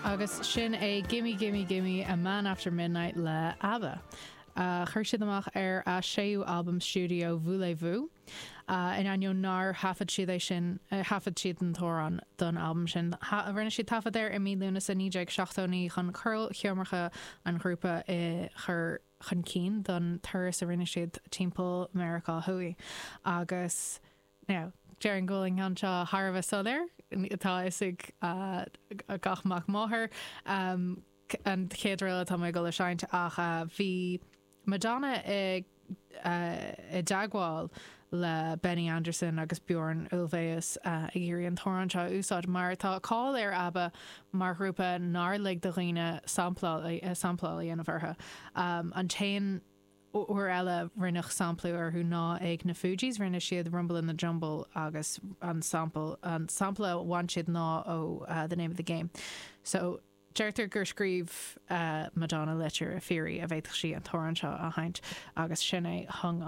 Agus sin é Gimme Gimme Gimme A Man After Midnight le ABBA. Chuir siad amach ar a séú albam stiúideo Voulez-Vous. In ainneoin nár thaifead siad é sin, thaifead siad an t-amhrán don albam sin. Rinne siad taifead air i mí Lúnasa 1979 chun ceolchoirmeacha an ghrúpa a chur chun cinn don turas a rinne siad timpeall Meiriceá Thuaidh. Agus now, déarfainn go bhfuil an ceann seo thar a bheith soiléir, tá a fhios ag gach mac máthar an chéad ríl atá mé ag dul a seinnt ach bhí Madonna i i dteagmháil le Benny Andersson agus Bjorn Ulvaeus ag iarraidh an t-amhrán seo a úsáid mar tá cáil ar ABBA mar ghrúpa nár lig do dhaoine sampláil a dhéanamh orthu. An t-aon uair eile rinneadh samplú orthu ná ag na Fugees, rinne siad Rumble in the Jumble agus an sample an sampla a bhain siad ná ó The Name of the Game. So. Deirtear gur scríobh Madonna litir ag fiafraí an bhféadfadh sí an t-amhrán seo a sheinnt agus sin é Hung.